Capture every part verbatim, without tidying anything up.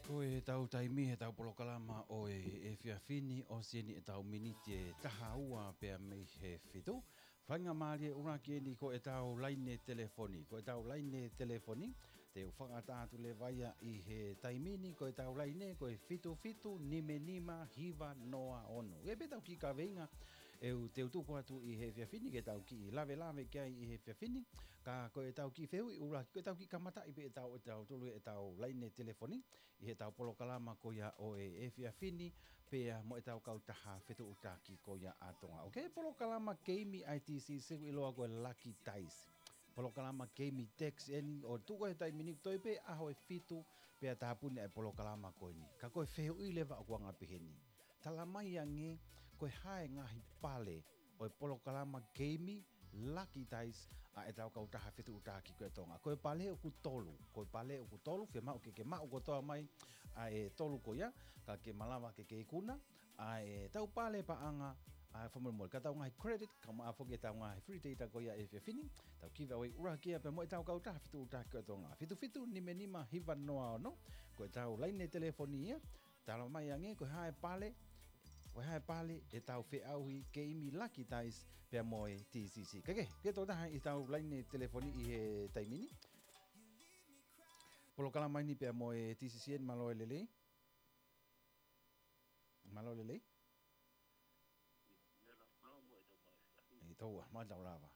Ko ʻetau taimi, ʻetau polokalama ʻo e efiafi ni, ʻosi eni ʻetau miniti ʻe taha ua pea mei he fitu. Faingamālie ʻuluaki eni ko ʻetau laine telefoni. Ko ʻetau laine telefoni, te u fakaʻatā atu leva ia ʻi he taimi ni, ko ʻetau laine, ko e fitu fitu nima nima hiva noa ono. ʻE pē ʻetau kiʻi kaveinga, ʻe u, te u tuku atu ʻi he efiafi ni, ke tau kiʻi lavelave ki ai ʻi he efiafi ni. Ka ko ʻetau kiʻi fehuʻi ʻuluaki, ko ʻetau kiʻi kamataʻi pē ʻetau, ʻetau tolu ʻetau laine telefoni ʻi heʻetau polokalama ko ia ʻo e efiafi ni, pea mo ʻetau kautaha fetuʻutaki ko ia ʻa Tonga. ʻOku ʻi ai e polokalama keimi ʻa e T C C ʻoku ʻiloa ko e Lucky Dice. Polokalama keimi text eni ʻo tuku he taimi ni, toe pē ʻaho ʻe fitu pea tāpuni ʻa e polokalama ko eni. Ka ko e fehuʻi leva ʻoku anga pehē ni. Tala mai ange, ko e hā e ngaahi pale ʻo e polokalama keimi Lucky Dice ʻa ʻetau kautaha fetuʻutaki ko ia ʻa Tonga. Ko e pale ʻoku tolu, ko e pale ʻoku tolu, fiemaʻu ke ke maʻu kotoa mai ʻa e tolu ko ia, ka ke malava ke ke ikuna ʻa ʻetau pale paʻanga, ʻa e fakamolemole, ka ʻetau ngaahi credit, kae ʻumaʻā foki ʻetau ngaahi free data ko ia ʻa e efiafi ni, tau kiva ʻo ʻuluaki ia pea mo ʻetau kautaha fetuʻutaki ko ia ʻa Tonga. Fitu fitu nima nima hiva noa ono, ko ʻetau laine telefoni ia, tala mai ange, ko e hā e pale, ko e hā e pale ʻetau feʻauhi keimi Lucky Dice pea mo e T C C. Kae kehe, ke tō taha ʻetau laine telefoni ʻi he taimi ni. Polokalama eni pea mo e T C C eni, mālō e lelei. Mālō e lelei. ʻE tō ua, mālō e lava.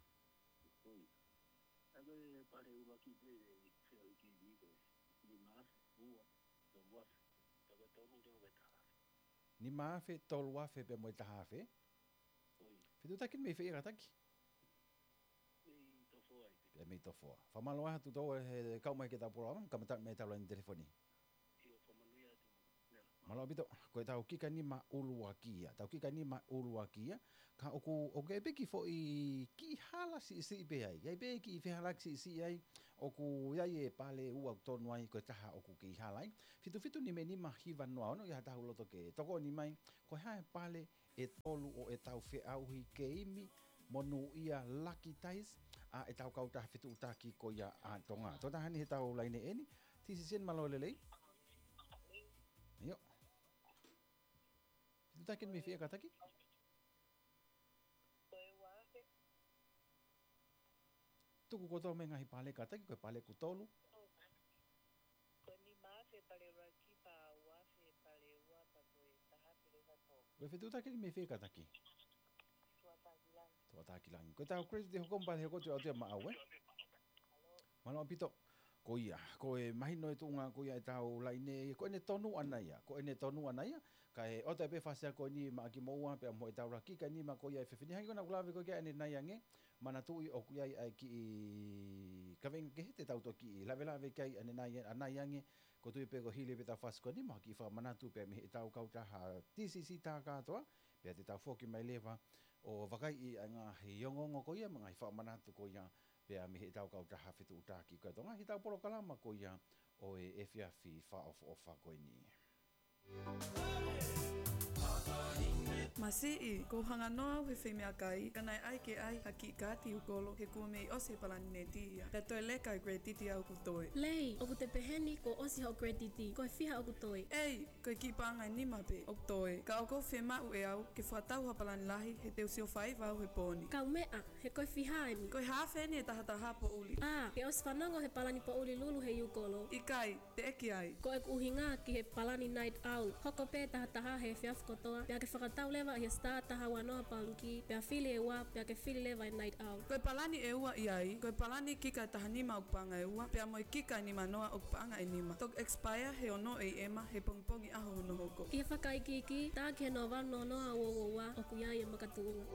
Nima afe, tolu afe pea mo e taha afe. Fetuʻutaki mei fē ia kātaki? Pea mei Tofoa. Fakamālō atu tō ua he kau mai ki heʻetau polokalama, kamata mei heʻetau laine telefoni. Mālō ʻaupito, ko ʻetau kika nima ʻuluaki ia, ʻetau kika nima ʻuluaki ia, ka ʻoku, ʻoku ʻi ai pē kiʻi foʻi kiʻi hala siʻisiʻi pē ai, ʻi ai pē kiʻi fehālaaki siʻisiʻi ai, ʻoku ʻi ai e pale ʻe ua ʻoku tonu ai, ko e taha ʻoku kei hala ai. Fitu fitu nima nima hiva noa ono, ʻi ai ha taha ʻoku loto ke tokoni mai, ko e hā e pale ʻe tolu ʻo ʻetau feʻauhi keimi monūʻia Lucky Dice ʻa ʻetau kautaha fetuʻutaki ko ia ʻa Tonga. Tō taha eni heʻetau laine eni, T C C eni, mālō e lelei. ʻIo. Fetuʻutaki mei fē ia kātaki? Tuku kotoa mai e ngaahi pale kātaki, ko e pale ʻoku tolu. Ko e nima afe pale ʻuluaki, pea ua afe pale ua, pea ko e taha afe leva tolu. Ko e fetuʻutaki mei fē ia kātaki? Tuʻatākilangi. Tuʻatākilangi. Ko ʻetau credit ʻe hoko mai pea hoko atu ia maʻau, ē? Mālō ʻaupito. Ko ia, ko e mahino e tuʻunga ko ia ʻetau laine, ko ʻene tonu ʻana ia, ko ʻene tonu ʻana ia, kae ʻoatu pē fakaʻosi ko eni maʻa kimoua pea mo ʻetau kika nima ko ia ʻa e efiafi ni, hangē ko ʻeku lave ko ē ki ai ʻanenai ange, manatuʻi ʻoku ʻi ai ʻa e kiʻi kaveinga kehe te tau toki lavelave ki ai ʻanenai, ʻanai ange, ko e tui pē ko e hili pē ʻetau fakaʻosi ko eni, mo ha kiʻi fakamanatu pē mei heʻetau kautaha T C C tā kātoa, pea te tau foki mai leva ʻo vakaiʻi ʻa e ngaahi ongoongo ko ia, mo e ngaahi fakamanatu ko ia, pea mei heʻetau kautaha fetuʻutaki ko ia ʻa Tonga, heʻetau polokalama ko ia ʻo e efiafi fakaʻofoʻofa ko eni. Masiʻi, kuo u hanganoa au he feimeʻakai, ka naʻe ʻai ke ʻai ha kiʻi kaati Iukolo, he kuo mei ʻosi e palani neti ia. Pea toe leka e credit ʻoku toe. Lei, ʻoku te pehē ni kuo ʻosi hoʻo credit, ko e fiha ʻoku toe? ʻEi, ko e kiʻi paʻanga ʻe nima pē ʻoku toe. Ka ʻoku ou fiemaʻu ʻe au ke fakatau ha palani lahi, he te u sio faiva au he pō ni. Kaumeʻa, he ko e fiha eni? Ko e haafe eni ʻe taha taha poʻuli. ʻĀ, ke ʻosi fanongo he palani poʻuli lulu he Iukolo? ʻIkai, teʻeki ai. Ko ʻeku ʻuhinga ki he palani Night Owl. Hoko pē taha taha he efiafi kotoa, pea ke fakatau leva ʻi he star taha ua noa pound key, pea fili e ua, pea ke fili leva e Night Owl. Ko e palani ʻe ua ʻi ai, ko e palani kika ʻe taha nima ʻoku paʻanga ʻe ua, pea mo e kika ʻe nima noa ʻoku paʻanga ʻe nima. Toki expire he ono ʻe ʻema he pongipongi ʻaho hono hoko. ʻI he fakaikiiki, tā ki he noa valu noa noa ua ua ua, ʻoku ʻi ai e makatuʻunga.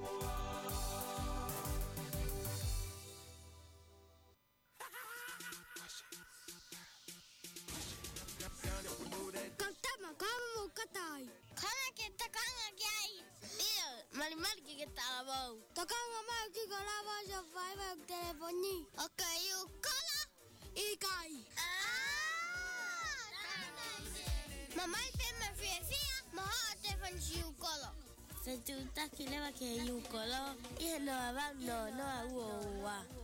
Kau tama, kau mo katai. Kona ke tokanga ki ai. ʻIo, malimali ke ke talavou. Tokanga mai ki ko lava ʻo fai mai telefoni. ʻOku Iukolo? ʻIkai. ʻĀ, tama. Mamahi pē mo e fiefia, mo hoʻo telefoni Iukolo. Fetuʻutaki leva ki he Iukolo, ʻi he noa valu noa noa ua ua ua.